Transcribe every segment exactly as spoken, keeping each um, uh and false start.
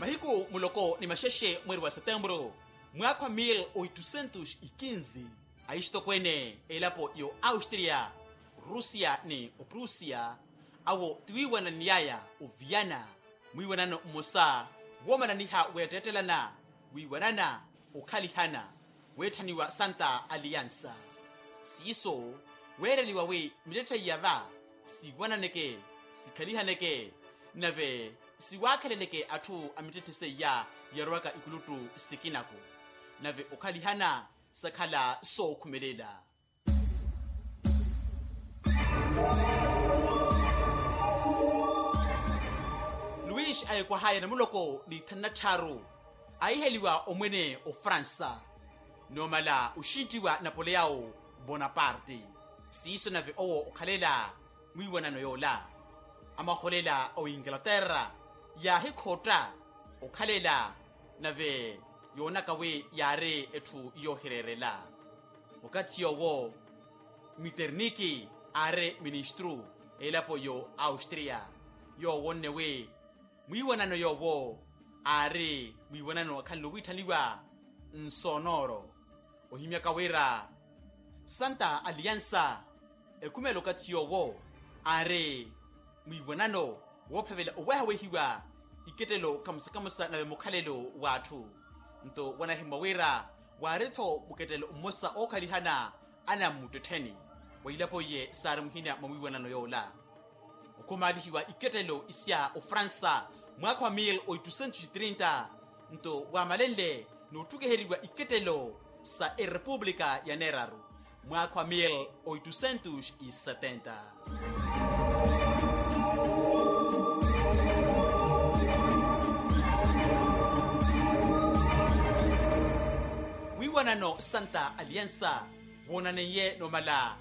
Mahiku muloko ni maxexe mweri wa setemburu, mwaakha wa mil oitusentus ikinzi, axitokweene elapo yo austria, rusia ni oprusia, awo tiwiiwananiyaya oviana mwiiwanano mmosa woomananiha weetteettelana, wiiwanana okhalihana, weetthaniwa santa aliansa. Siiso weereliwa wi mittetthe iya va siiwananeke, sikhalihaneke, nave siwaakheleleke atthu a mittetthe seiya yarowaka ikuluttu sikinaku, nave okhalihana sakhala sookhumelela. Luis ayekwahaya namuloko ni thanu na tthaaru, aiheliwa omwene ofransa noomala oxintiwa napoleao bonaparte. Siiso nave owo okhalela mwiiwanano yoola, amaholela a oingalaterra yaahikhotta okhalela, nave yoonaka wi yaari etthu yoohireerela. Wakathi yoowo miterniki aari ministru elapo yo austria, yoowo onne wi mwiiwanano yoowo aari mwiiwanano akhanle owiitthaniwa nsonoro. Ohimyaka wira santa aliansa ekhumela okathi yoowo aari mwiiwanano woophavela owehawehiwa ikettelo kamosa kamosa nave mukhalelo w'atthu. Nto wanahimmwa wira waari-tho mukettelo mmosa ookhalihana anammuttettheni, wa ilapo iye saari muhina mwa mwiiwanano yoola. Okhumaalihiwa ikettelo isya ofransa mwaakha wa mil oitusentus trinta, nto waamalenle nootthukuheriwa ikettelo sa erepupulika ya neeraru mwaakha wa mil oitusentus setenta. Wiiwanano santa aliansa woonaneiye noomala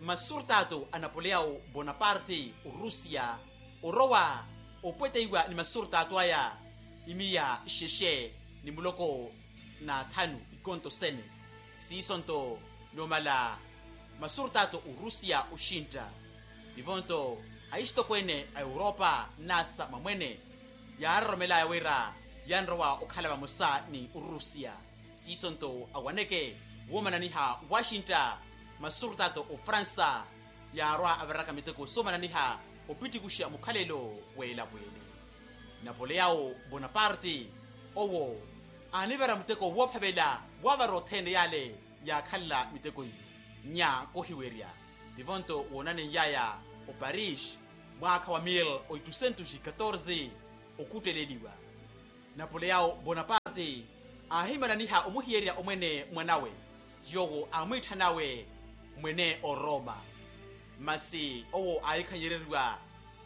masurtato a napoleao bonaparte orusia orowa opweteiwa ni masurtato aya imiya xexe ni muloko na thanu ikonto sene. Siiso nto noomala masurtato orusia oxintta, tivo nto axitokweene a europa nasa mwamwene yaaroromelaya wira yanrowa okhala vamosa ni orusia. Siiso nto awaneke woomananiha washington masurtato ofransa yaarwa avaraka miteko soomananiha opittikuxa mukhalelo w'elapo ele. Napoleao bonaparte owo aanivara muteko woophavela waavara othene yale yaakhalela miteko iyo nya kohiwerya. Tivo nto woonanen'yaya oparis mwaakha wa mil oitusentus katorze okutteleliwa. Napoleao bonaparte aahimananiha omuhiyerya omwene mwanawe yoowo aamwiitthanawe mwene oroma. Masi owo aahikhanyereriwa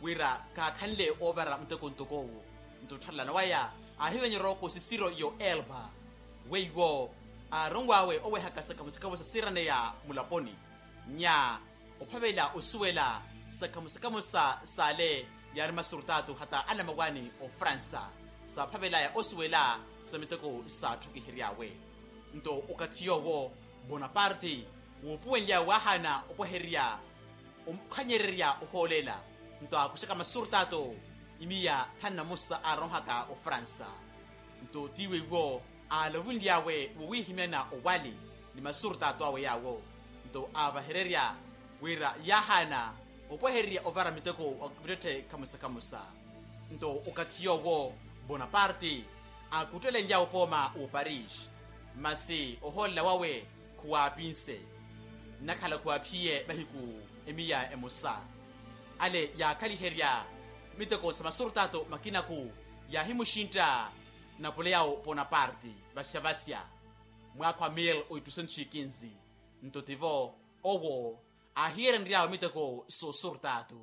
wira kaakhanle oovara muteko ntok'owo. Nto ottharelana waya aahivenyerya oko sisiro yo elba weiwo aaronw'awe owehaka sakhamusakhamu sa siiraneya mulaponi nya ophavela osuwela sakhamusakhamu sa sale yaari masurtato hata anamawani ofransa saaphavelaya osuwela sa miteko saatthukihiryawe. Nto okathi yoowo bonaparte woopuwenlya waahaana opwehererya okhanyererya ohoolela nto aakuxaka masurtato imiya thanu na mosa aaronhaka ofransa. Nto tiiwe iwo aalavunly'awe wowiihimyana owali ni masurtato awe yaawo nto aavahererya wira yaahaana opwehererya ovara miteko wa mittetthe khamusa khamusa. Nto okathi yoowo bonaparte aakuttelenly'awe opooma w'oparis masi ohoolela wawe khuwaapinse nnakhala khuwaaphiye mahiku emiya emosa. Ale yaakhaliherya miteko sa masurtato makinaku yaahimuxintta napoleao bonaparte vasya vasya mwaakha wa mil oitusentos e quinze. Nto tivo owo aahiyerenry'awe miteko soosurtato.